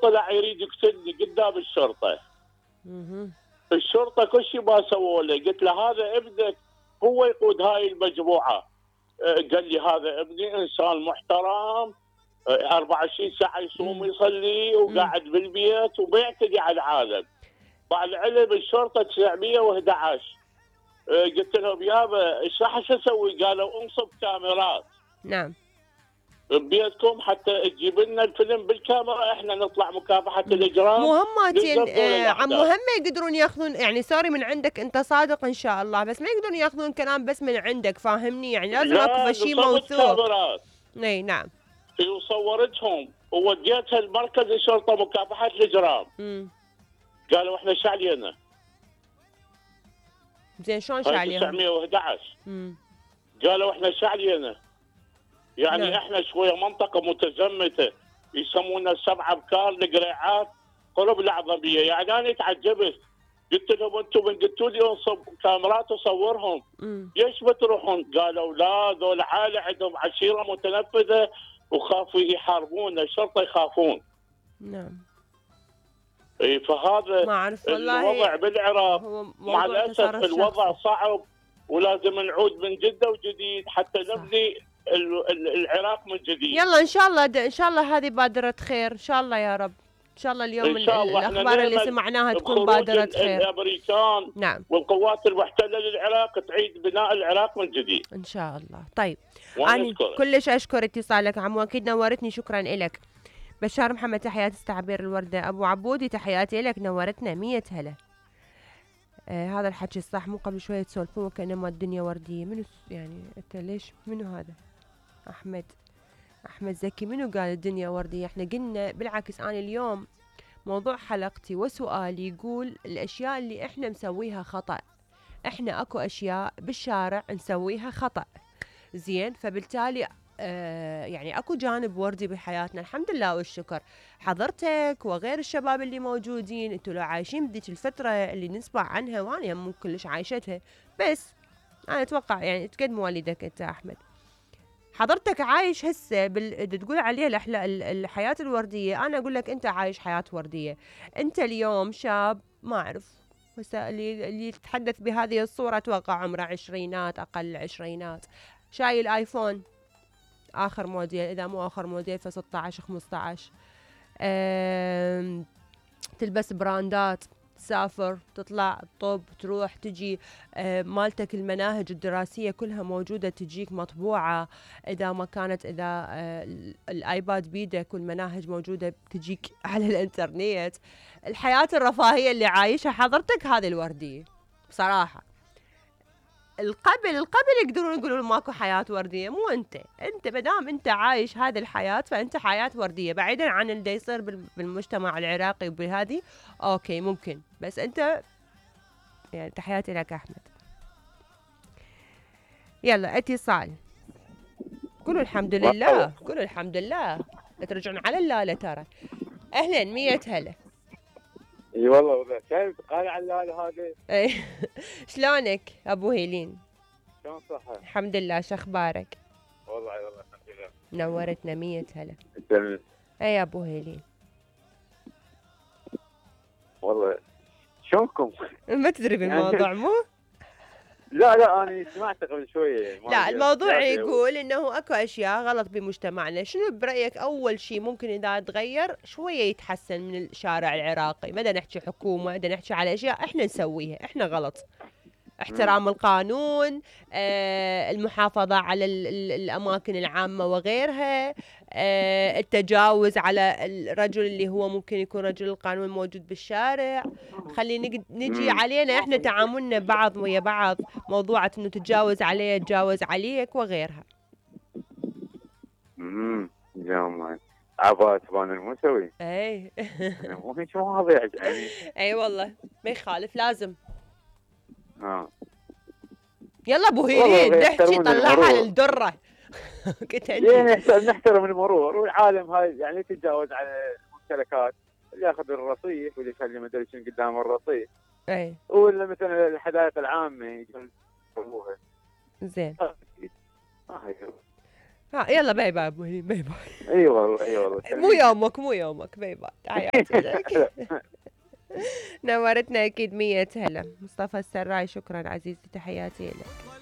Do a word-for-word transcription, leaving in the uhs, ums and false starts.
طلع يريد يقتلني قدام الشرطه. اها الشرطه كل شيء ما سووا له، قلت له هذا ابنك هو يقود هاي المجموعه. آه، قال لي هذا ابني انسان محترم، آه، أربعة وعشرين ساعه يصوم ويصلي وقاعد بالبيت وما يعتدي على العالم. مع العلم الشرطه تسعمية وأحد عشر. آه، قلت لهم يابا ايش راح اسوي؟ قالوا انصب كاميرات نعم ببيتكم حتى تجيب لنا الفيلم بالكاميرا، احنا نطلع مكافحه الاجرام. مهماتين آه عم مهم يقدرون ياخذون، يعني سوري من عندك انت صادق ان شاء الله، بس ما يقدرون ياخذون كلام بس من عندك، فاهمني؟ يعني لازم اكو شيء موثوق. اي نعم. وصورتهم ووديتها لمركز الشرطه مكافحه الاجرام. امم قالوا احنا ايش علينا؟ زين شلون شعليهم؟ تسعمية وأحد عشر. امم قالوا احنا ايش علينا؟ يعني نعم. احنا شويه منطقه متزمته يسمونا السبع ابكار القريعات قلوب العظميه. يعني انا تعجبت، قلت لهم انتم من قلتوا لي انصب كاميرات وصورهم، ليش بتروحون؟ قالوا لا ذول عائله عندهم عشيره متنفذه وخافوا يحاربونا، الشرطه يخافون. نعم. اي فهذا ما اعرف والله الوضع بالعراق مع الاسف الوضع صعب، ولازم نعود من جده وجديد حتى نبني العراق من جديد. يلا ان شاء الله ان شاء الله هذه بادره خير ان شاء الله يا رب. ان شاء الله اليوم إن شاء الله الاخبار اللي سمعناها تكون بادره خير. الامريكان نعم والقوات المحتله للعراق تعيد بناء العراق من جديد ان شاء الله. طيب انا كلش اشكر اتصالك عمو، اكيد نورتني، شكرا لك. بشار محمد تحياتي استعبير الورده. ابو عبودي تحياتي لك، نورتنا مية هلا. آه هذا الحكي الصح، مو قبل شويه تسولفون وكانما الدنيا ورديه. منو يعني انت ليش منو هذا؟ احمد احمد زكي منو قال الدنيا ورديه؟ احنا قلنا بالعكس، انا اليوم موضوع حلقتي وسؤالي يقول الاشياء اللي احنا مسويها خطأ. احنا اكو اشياء بالشارع نسويها خطأ زين، فبالتالي آه يعني اكو جانب وردي بحياتنا الحمد لله والشكر. حضرتك وغير الشباب اللي موجودين انتوا لو عايشين بديك الفتره اللي نسمع عنها، وانا مو كلش عايشتها، بس انا اتوقع يعني تقد مواليدك انت احمد، حضرتك عايش هسه بال... تقول عليها الأحلا... الحياة الوردية. أنا أقول لك أنت عايش حياة وردية. أنت اليوم شاب ما أعرف هسه اللي اللي يتحدث بهذه الصورة أتوقع عمره عشرينات أقل عشرينات، شايل آيفون آخر موديل، إذا مو آخر موديل فستة عشر خمسة عشر، أم... تلبس براندات، تسافر تطلع طب تروح تجي، آه مالتك المناهج الدراسية كلها موجودة تجيك مطبوعة، إذا ما كانت إذا آه الآيباد بيدك والمناهج موجودة تجيك على الإنترنت. الحياة الرفاهية اللي عايشها حضرتك هذه الوردية بصراحة. القبل القبل يقدرون يقولون ماكو حياة وردية، مو انت انت مدام انت عايش هذه الحياة فانت حياة وردية، بعيدا عن اللي يصير بالمجتمع العراقي وبهذه اوكي ممكن، بس انت يعني تحياتي لك احمد. يلا اتصال، قولوا الحمد لله قولوا الحمد لله، لا ترجعون على اللاله ترى. اهلا مية هلا. اي والله والله شايف قال على اللاله هذه. اي شلونك ابو هيلين؟ شلون صحة؟ الحمد لله، شو اخبارك؟ والله والله الحمد لله. نورتنا مية هلا. تمام. اي يا ابو هيلين والله شلونكم؟ ما تدري بالموضوع يعني مو؟ لا لا انا سمعت قبل شويه. لا الموضوع يقول انه اكو اشياء غلط بمجتمعنا. شنو برايك اول شيء ممكن اذا تغير شويه يتحسن من الشارع العراقي؟ ما نحكي حكومه، بدنا نحكي على اشياء احنا نسويها احنا غلط. احترام القانون، آه، المحافظة على الأماكن العامة وغيرها، آه، التجاوز على الرجل اللي هو ممكن يكون رجل القانون موجود بالشارع. خلي نجي علينا احنا تعاملنا بعض ويا بعض، موضوعة انه تتجاوز عليه تجاوز عليك وغيرها. امم جامد عباس بان المسوي. اي مو هيك مواضيع يعني. اي والله ما يخالف لازم. اه يلا ابو هيلين نحكي طلعها للدره. كنت يعني نحترم المرور والعالم هاي، يعني يتجاوز على الممتلكات، اللي ياخذ الرصيف واللي يخلي ما ادري شنو قدام الرصيف. اي ولا مثلا الحدائق العامه يسووها. زين. آه ها يلا باي باي ابو هليل، باي باي. اي والله اي والله. مو يومك مو يومك، باي باي، تحياتي لك. نورتنا اكيد مية هلا. مصطفى السراي شكرا عزيزتي، تحياتي لك.